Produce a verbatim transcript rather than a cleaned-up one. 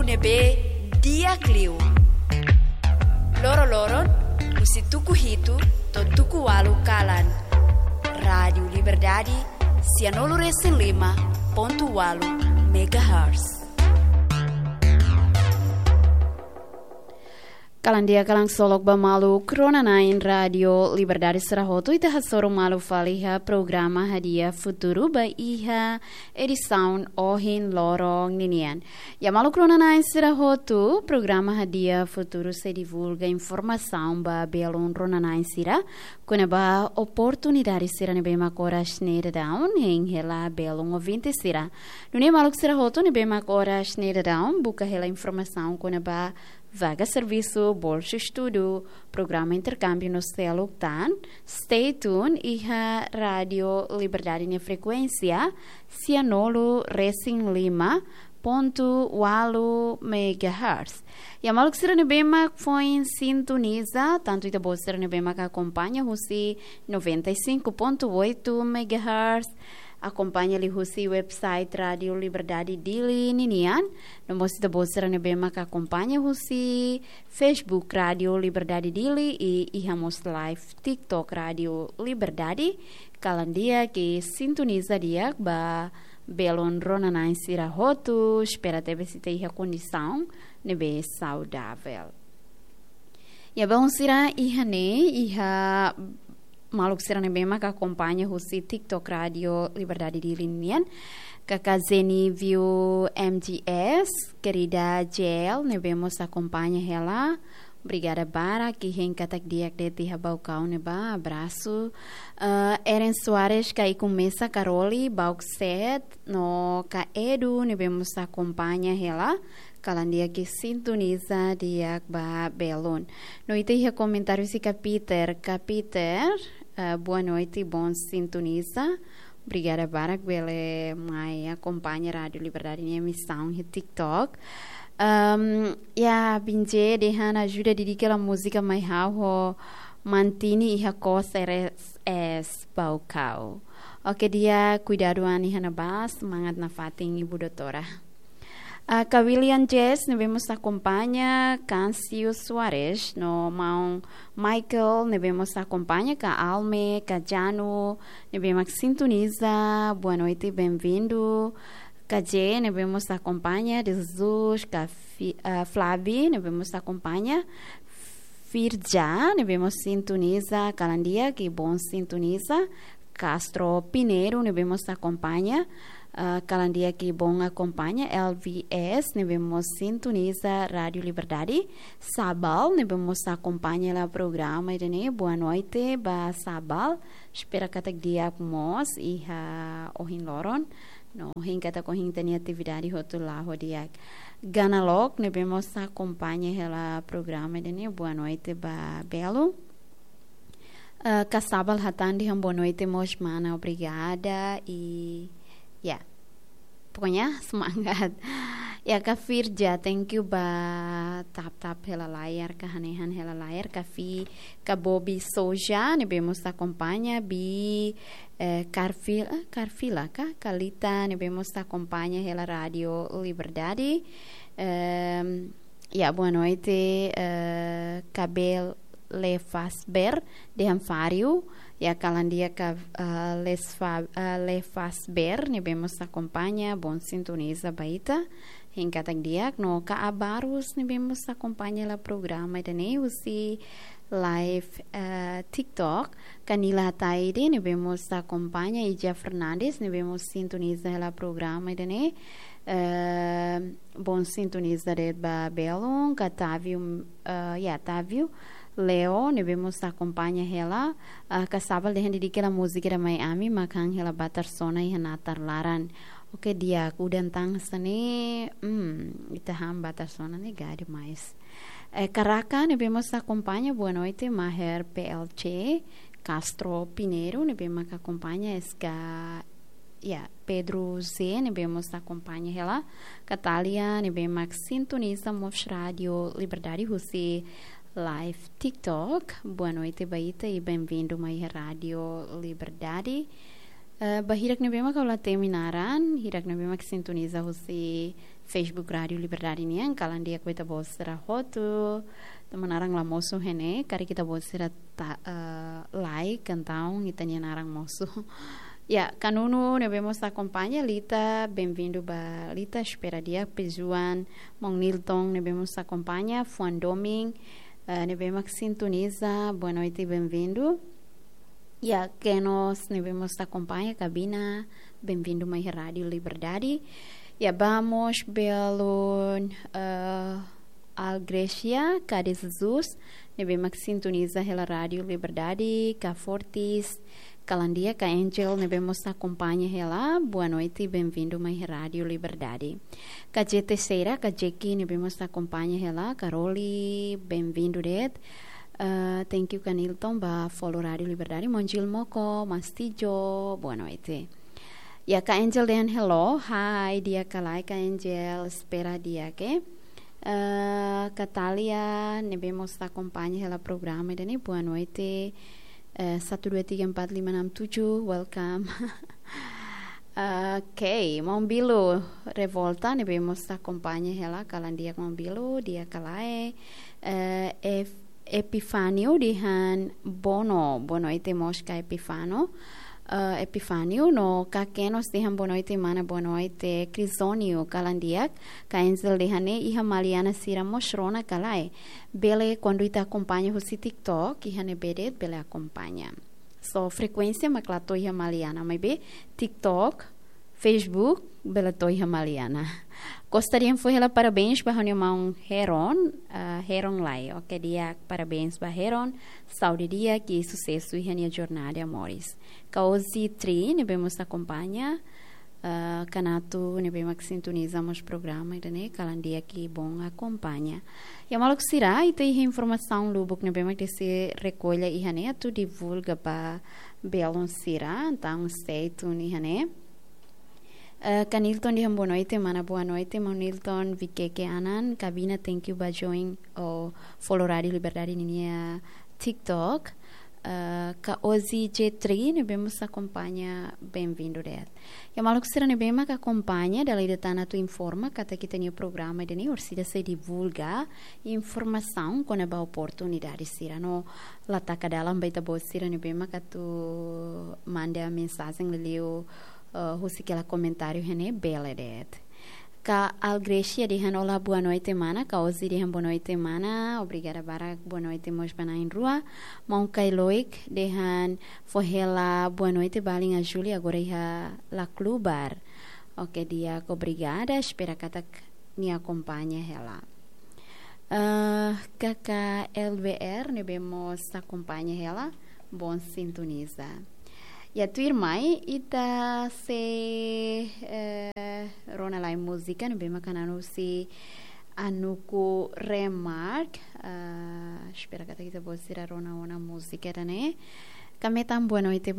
ne'ebé di'ak liu. Loroloron, husi tuku hitu to'o tuku ualu kalan. Rádiu Liberdade, sianulu resin lima pontu ualu megahertz. Kalan di'ak, kalan solok ba maluk rona-na'in Rádiu Liberdade sira hotu, ita hasoru malu fali iha programa Hadi'a Futuru ba iha edisaun ohin loron ninian. Ya maluk rona-na'in sira hotu, programa Hadi'a Futuru sei divulga informasaun ba belun rona-na'in sira kona-ba oportunidade sira ne'ebé mak oras ne'e daudaun hein hela belun ouvinte sira. Nune'e maluk sira hotu ne'ebé mak oras ne'e daudaun buka hela informasaun kona-ba vaga servisu, bolsa estudu, programa interkámbiu no seluk tan, stay tuned iha Rádiu Liberdade nia frekuénsia, sianulu resin lima pontu ualu megahertz. Ya maluk sira ne'ebé mak foin sintoniza, tantu ita-boot sira ne'ebé mak akompaña husi noventa e cinco ponto oito megahertz, akompaña liuhusi website Rádiu Liberdade Dili ninian, no mós ita-boot sira ne'ebé mak akompaña husi Facebook Rádiu Liberdade Dili i iha mós live TikTok Rádiu Liberdade. Kalan di'ak i sintoniza di'ak ba belun rona-na'in sira hotu, espera tebes ita iha kondisaun ne'ebé saudavel. Ya belun sira, iha ne'e, iha maluk sira ne'ebé mak akompaña husi TikTok Rádiu Liberdade Dili nian, Kaka Zeni View M G S, Querida J L ne'ebé mós akompaña hela. Obrigada barak, hein katak di'ak de'it iha Baucau ne'ebá, abrasu. Eh, Eren Soares, Kaiku Mesa, Karoli, Bauxet, no Ka Edu ne'ebé mós akompaña hela. Kalan di'ak i sintoniza di'ak ba belun. No ita iha komentáriu husi Ka Peter. Ka Peter, eh, boa noite, bom sintonizar. Obrigada barak bele mai akompaña Rádiu Liberdade nia emisaun iha TikTok. Ehm, ya, Binje dehan ajuda dedika hela múzika mai ha'u ho Mantini iha kos R S S Baucau. Oke, di'ak, kuidadu an iha ne'ebá, semangat nafatin ibu doutora. Ah, Ka William Jess ne'ebé mós akompaña, Cancio Soares no maun Michael ne'ebé mós akompaña, Ka Alme, Ka Janu ne'ebé mak sintoniza, boa noite, bem-vindo. Ka J ne'ebé mós akompaña, Jesus, Ka Fi-, ah, Flavi ne'ebé mós akompaña, Firja ne'ebé mós sintoniza, kalan di'ak i bom sintoniza. Castro Pinheiro ne'ebé mós akompaña, ah, kalan di'ak i bom akompaña. L V S ne'ebé mós sintoniza Rádiu Liberdade. Sabal ne'ebé mós akompaña hela programa ida-ne'e, boa noite ba Sabal. Espera katak di'ak mós iha ohin loron. No hein katak ohin ita-nia atividade hotu la'o di'ak. Ganalok ne'ebé mós akompaña hela programa ida-ne'e, boa noite ba belun. Eh, Ka Sabal hatán dehan boa noite mós mana, obrigada i ya. Pokoknya semangat. Ya, Ka Firja, thank you ba tap-tap hela layar, ka hanehan hela layar, Ka Fi, Ka Bobi Soja ne'ebé mós akompaña, Bi, eh, Carfil-, eh, Carfila ka? Kalita ne'ebé mós akompaña hela Rádiu Liberdade. Ehm, ya, boa noite, eh, Kabel Lefasber, dehan Fário, ya kalan di'ak Ka, eh, Lesfa-, eh, Lefasber ne'ebé mós akompaña, bom sintoniza ba ita. Hein katak di'ak, no Ka Abarus ne'ebé mós akompaña hela programa ida-ne'e husi live, eh, TikTok. Ka Nila Ataide ne'ebé mós akompaña, Ija Fernandes ne'ebé mós sintoniza hela programa ida-ne'e. Eh, bom sintoniza de'it ba belun. Ka Tavio, eh, ya, Tavio Leo ne'ebé mós akompaña hela. Ah, Ka Sabal dehan dedika hela múzika ida mai ami, mak han hela batar sona iha natar laran. Oke, di'ak, udan tan hanesan ne'e, hmm, ita han batar sona ne'e gade mais. Eh, Ka Raka ne'ebé mós akompaña, boa noite, Maher P L C, Castro Pinheiro ne'ebé mak akompaña, S K, ya, Pedro Z ne'ebé mós akompaña hela, Ka Talia ne'ebé mak sintoniza mós Rádiu Liberdade husi live TikTok, boa noite ba ita i bem-vindo mai Rádiu Liberdade. Eh, ba hirak ne'ebé mak ha'u la temi naran, hirak ne'ebé mak sintoniza husi Facebook Rádio Liberdade nian, kalan di'ak ba ita-boot sira hotu. Tanba naran la mosu iha ne'e, karik ita-boot sira ta, eh, like, entaun ita-nia naran mosu. Ya, Kanunu ne'ebé mós akompaña, Lita, bem-vindu ba Lita, espera di'ak, Pejuan, Maun Nilton ne'ebé mós akompaña, Fuan Doming, eh, ne'ebé mak sintoniza, boa noite, bem-vindu. Ya, Kenos ne'ebé mós akompaña, Kabina, bem-vindu mai Rádio Liberdade. Ya, vamos belun, eh, Algrecia, Cade Jesus, ne'ebé mak sintoniza hela Rádio Liberdade, ka Fortis, kalan di'ak, ka Angel, ne'ebé mós akompaña hela, boa noite, bem-vindu mai Rádio Liberdade. Ka J T Seira, ka Jeki, ne'ebé mós akompaña hela, Karoli, bem-vindu de'it. Eh, thank you, Kanilton, ba follow Rádio Liberdade. Monjil Moko, Mastijo, boa noite. Ya, ka Angel dehan hello, hi, di'ak ka lae, ka Angel, espera di'ak, eh. Eh, ka Talia, ne'ebé mós akompaña hela programa ida-ne'e, boa noite. Eh, satu dua tiga empat lima enam tujuh, welcome. Ok, Maun Bilo Revolta, ne'ebé mós akompaña hela, kalan di'ak Maun Bilo, di'ak ka lae. Eh, Ef-, Epifanio dehan bono, boa noite mós ka Epifano. Eh, Epifanio no ka Kenos dehan boa noite mana, boa noite. Crisónio, kalan di'ak, ka Angel dehan ne'e iha Maliana sira mós rona ka lae. Bele kuandu ita akompaña husi TikTok, iha ne'ebé de'it bele akompaña. So, frekuénsia mak la to'o iha Maliana, maibé TikTok, Facebook, bele to'o iha Maliana. Costa dehan fó hela parabéns ba ha'u-nia maun Heron, ah, Heron Lai. Ok, di'ak, parabéns ba Heron. Saúde di'ak, susesu iha nia jornada amores. Ka Ozzy Tri, ne'ebé mós akompaña. Ah, Kanatu, ne'ebé mak sintoniza mós programa ida-ne'e, kalan di'ak, bom akompaña. Ya maluk sira, ita iha informasaun lubuk ne'ebé mak sei rekolla iha ne'e atu divulga ba belun sira, entaun stay tune iha ne'e. Eh, Kanilton dehan boa noite, mana, boa noite, Maun Nilton, Vikeke Anan, Kabina, thank you ba join ou follow Rádio Liberdade ninia TikTok. Eh, ka Ozzy J Tri, ne'ebé mós akompaña, bem-vindu de'it. Ya maluk sira ne'ebé mak akompaña, dala ida tan atu informa katak ita-nia programa ida-ne'e orsida sei divulga informasaun kona-ba oportunidade sira no la taka dalan ba ita-boot sira ne'ebé mak atu manda mensajen liuliu, eh, husik hela komentáriu iha ne'e bele de'it. Ka Algrecia dehan olá, boa noite mana, ka Ozzy dehan boa noite mana, obrigada barak, boa noite mós ba na'in-rua. Maun Kailoik dehan fó hela boa noite ba alin Ajuli agora iha La Club Bar. Ok, di'ak, obrigada, espera katak nia akompaña hela. Eh, K K L B R ne'ebé mós akompaña hela, bom sintoniza. Ya tuirmai, ita sei, eh, rona lai múzika ne'ebé mak hanu'u husi Anuku Remark. Eh, espera katak ita-boot sira rona ona múzika ida-ne'e. Ka Metan, boa noite,